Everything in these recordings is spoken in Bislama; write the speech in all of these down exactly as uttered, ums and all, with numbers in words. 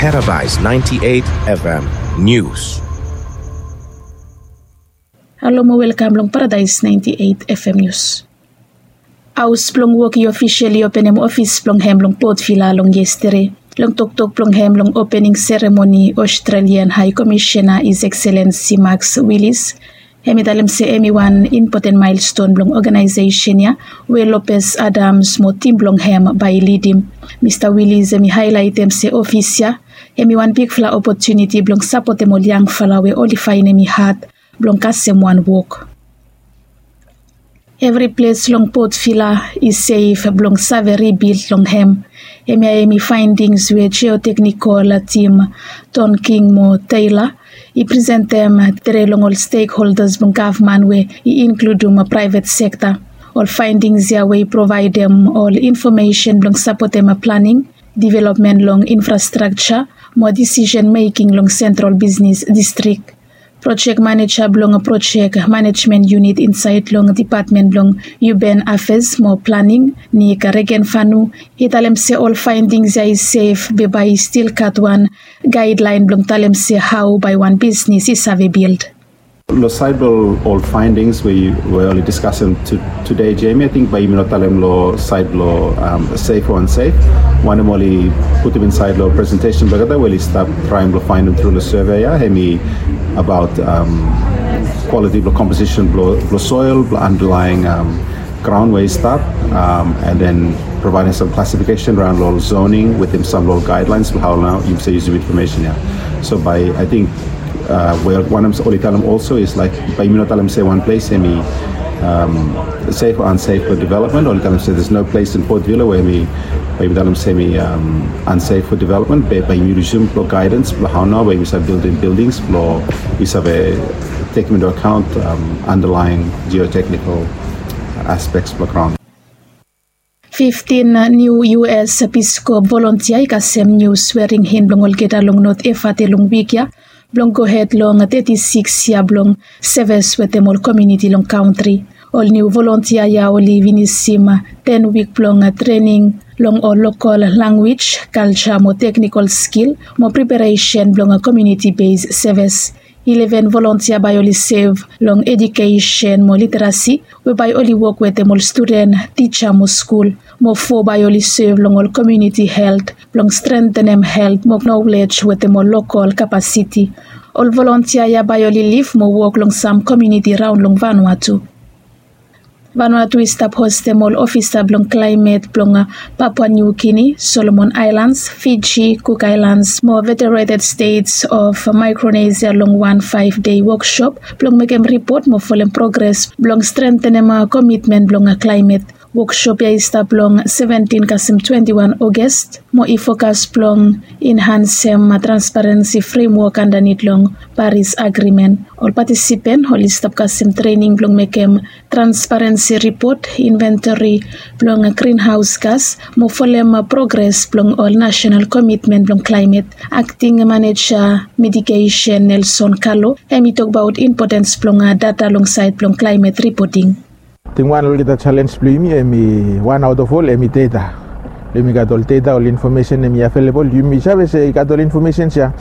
Paradise ninety-eight F M News. Halo mo welkam long Paradise ninety-eight F M News. Haos blong wok i ofisiali openem ofis blong hem long Port Vila long yestede. Long toktok blong hem long opening seremoni, Australian High Commissioner His Excellency Max Willis, hem i talem se hem i wan impoten maelston blong oganaesesen ya we Lopez Adams mo tim blong hem bae i lidim. Mista Willis hem i haelaetem se ofis ya hem i wan bigfala opotuniti blong sapotem ol yangfala we oli faenem i had blong kasem wan wok. Evri ples long Port Vila i sef blong save ribild long hem. Hemia hem i faendings we geoteknikol tim Tonking mo Taylor i presentem tede long ol stekholdas blong gavman we i inkludum praevet sekta. Ol faendings ya we i provaedem ol infomesen blong sapotem planing, developmen long infrastrakja mo disisen meking long sentral bisnis distrik. Projek maneja blong projek manejmen yunit insaed long depatmen blong Urban Affairs mo Planing, Nick Regenfanu, i talem se ol faendings ya i sef be bae i stil gat wan gaedlaen blong talem se hao bae wan bisnis i save bild. Lo saed blo ol faendings we oli diskasem tede, Jamie, ating bae yumi no talem lo saed blo sef o ansef. Wanem oli putum insaed lo presentesen blong olgeta we oli stap traem blo faenem tru lo survey ya, hemi abaot kwaliti blo komposisen blo soel, blo andalaen graon we i stap, and then provaedem sam klasifikesen raon lo ol zoning wetem sam lo ol gaedlaens blo hao nao yumi save yusum infomesen ya. So bae ating we wanem oli talem olso is laek bae yumi no talem se wan ples hemi sef o ansef fo developmen. Oli talem se there's no place in Port Vila we hemi, bae yumi talem se hemi ansef fo developmen, be bae yumi yusum blo gaedans blo hao nao bae yumi save bildim bildings blo yumi save tekem into account underlying geotechnical aspects blo graon. Fiftin niu U S Peace Corps volontia i kasem niu swering in blong olgeta long North Efate long wik ya blong gohed long teti sikis yia blong seves wetem ol komuniti long kantri. Ol niu volontia ya oli finisim ten wik blong trening long ol lokol lanwis, kalja mo teknikol skil mo preparesen blong komuniti bes seves. Ileven volontia bae oli sev long ejukesen mo literasi we bae oli wok wetem ol studen, tija mo skul. Mo fo bae oli sev long ol komuniti helt blong strentenem helt mo nolej wetem ol lokol kapasiti. Ol volontia ya bae oli lif mo wok long sam komuniti raon long Vanuatu. Vanuatu i stap hostem ol ofisa blong klaemet blong Papua New Guinea, Solomon Aelans, Fiji, Cook Aelans mo Federated States of Micronesia long wan faef dei woksop blong mekem ripot mo folem progres blong strentenem komitmen blong klaemet. Woksop ya i stap long seventin kasem twenti wan Oges mo i fokas blong enhansem transparensi fremwok andanit long Paris Agrimen. Ol patisipen oli stap kasem trening blong mekem transparensi ripot, inventori blong grinhaos gas mo folem progres blong ol nasenal komitmen blong klaemet. Akting maneja mitigesen Nelson Kalo hem i tokbaot impotens blong data long saed blong klaemet ripoting. Ating wan lo olgeta jalens blong yumi hemi wan aot of ol hemi data. Blong yumi gat ol data, ol infomesen hemi avelebol, yumi save se i gat ol infomesens ya,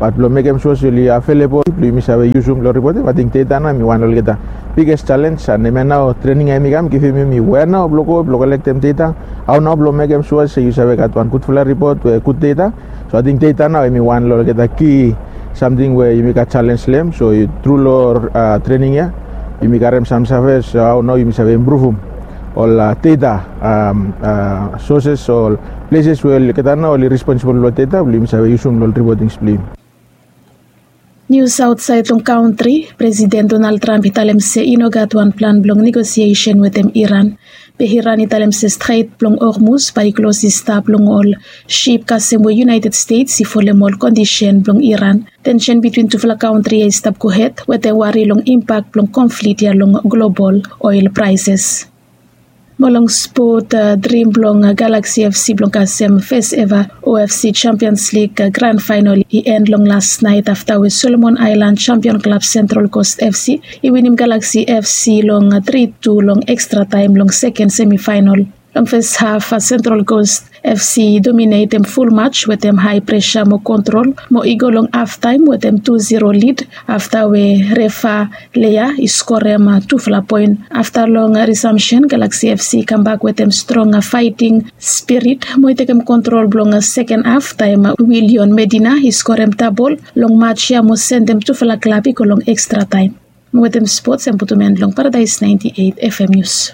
bat blong mekem sua se oli avelebol blong yumi save yusum long ripoting, ating data nao hemi wan lo olgeta biges jalens. An hemia nao trening ya hemi kam givim yumi wea nao blong go blong kolektem data, hao nao blong mekem sua se yu save gat wan gudfala ripot we gud data. So ating data nao hemi wan lo olgeta ki samting we yumi gat jalens long hem. So tru lo trening ya yumi karem sam save se hao nao yumi save impruvum ol data soses, ol pleses we olgeta nao oli responsibol lo data blong yumi save yusum lo ol ripotings blong yumi. Nius aotsaed long kantri. Presiden Donald Trump i talem se i no gat wan plan blong negosiesen wetem Iran. Be Iran i talem se Stret blong Hormuz bae i klos i stap long ol sip kasem we United States i folem ol kondisen blong Iran. Tensen bitwin tufala kantri ya i stap gohed wetem wari long impak blong konflik ya long global oel praeses. Mo long spot, drim blong Galaxy F C blong kasem fes eva O F C Champions League gran faenol i en long las naet afta we Solomon Aelan Champion Klab Central Coast F C i winim Galaxy F C long tri tu long ekstra taem long seken semifaenol. Long fes haf Central Coast FC i dominetem ful mats wetem hae presa mo kontrol mo i go long haftaem wetem tu zero lid afta we refa lea i skorem tufala poen. Afta long risamsen, Galaksi FC i kambak wetem strong faeting spirit mo i tekem kontrol blong seken haf taem Willion Medina i skorem tabol long mats ya mo sendem tufala klab i go long ekstra taem. Mo wetem spots em putum en long Paradaes naenti eit FM nius.